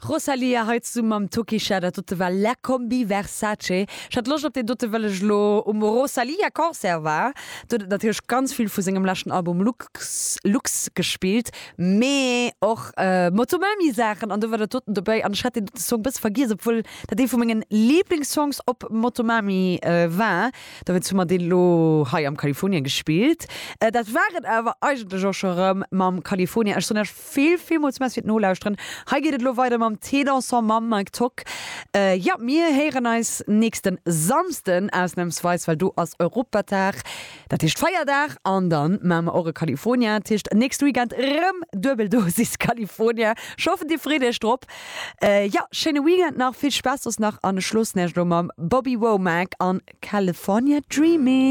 Rosalía hei zesumme mam Tokischa, dat dote war La Combi Versace. Ech hat Loscht op deen dote well ech elo um Rosalía Concert war. Do huet et natierlech ganz vill vu sengem leschten Album Lux Lux gespillt, mee och Motomami Saachen an do war dat doten dobäi an ech hat deen dote Song bësse vergiess, obwuel dat ee vu mengen Liblingssongs op Motomami war. Dowéinst hu mer deen elo hei am Kalifornien gespillt. Dat war et awer eigentlech och scho rëm mam Kalifornien. Ech soen iech vill, villmools Merci fir d'Nolauschteren. Hei geet et elo weider mam Thé Dansant mam Mike Tock. Jo, mir héieren eis nächste Samsden ausnamsweis, well do ass Europatag, dat heescht Feierdag, an dann maache mer och e Kalifornia. Dat heescht nächste Weekend rëm duebel Dosis Kalifornia. Ech hoffen dir freet iech drop. Jo, schéine Weekend nach, vill Spaass soss nach an ech loossen iech elo mam Bobby Womack an California Dreaming.